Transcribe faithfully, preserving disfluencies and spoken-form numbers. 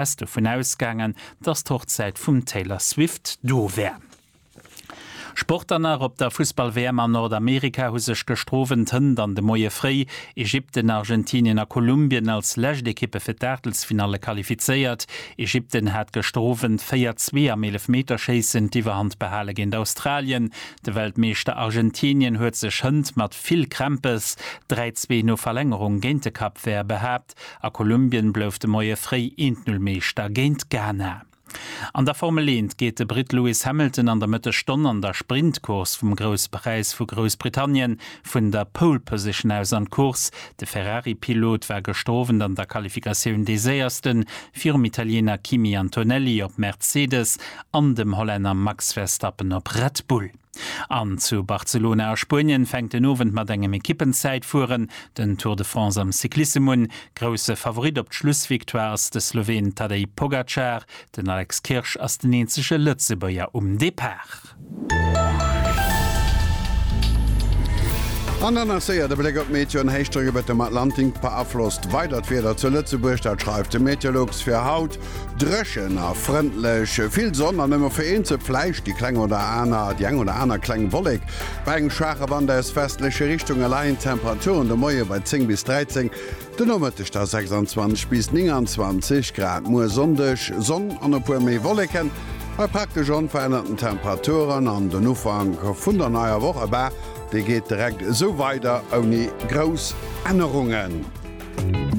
Dovun ausgaangen, dass d'Hochzäit vum Taylor Swift do wär. Sport dann nach, Op der Fussball-WM an Nordamerika hu sech gëschter Owend, hënt an de Moie fréi Ägypten, Argentinien a Kolumbien als lescht Ekippe fir d'Aachtelsfinalle qualifizéiert. Ägypten hat gëschter Owend véier, zwee am Eelefmeterschéissen d'Iwwerhand behale géint Australien. De Weltmeeschter Argentinien huet sech hënt mat vill Krämpes dräi, zwee no Verlängerung géint de Cap Vert behaapt. A Kolumbien blouf de Moie fréi eent Null Meeschter géint Ghana. An der Formel eent geet de Britt Lewis Hamilton an der Mëttesstonn an der Sprintcourse vum Grousse Präis vu Groussbritannien vun der Pole Position aus an d'Course. De Ferrari-Pilot war gëschter Owend an der Qualifikatioun dee séiersten, virum Italiener Kimi Antonelli op Mercedes an dem Hollänner Max Verstappen op Red Bull. An zu Barcelona a Spuenien fänkt den Owend mat engem Ekippenzäitfueren den Tour de France am Cyclissem un. Grousse Favorit op d'Schlussvictoire ass de Sloween Tadej Pogacar. Den Alex Kirsch ass den eenzege Lëtzebuerger um Depart. An dann nach séier de Bléck op d'Meteo, En Héichdrock iwwert dem Atlantik beaflosst weider d'Wieder zu Lëtzebuerg, dat schreift de Meteolux. Fir haut dréchen a frëndlech, vill Sonn an nëmme vereenzelt vläicht déi kleng oder aner déi eng oder aner kleng Wollek. Bei engem schwaache Wand aus westleche Richtunge leien d'Temperaturen de Moie bei zéng bis dräizéng, de Nomëtteg da sechsandzwanzeg bis nénganzwanzeg Grad. Muer Sonndeg Sonn an e puer méi Wolleken bei praktesch onverännerten Temperaturen an den Ufank vun der neier Woch, eba dee geet direkt esou weider ouni grouss Ännerungen.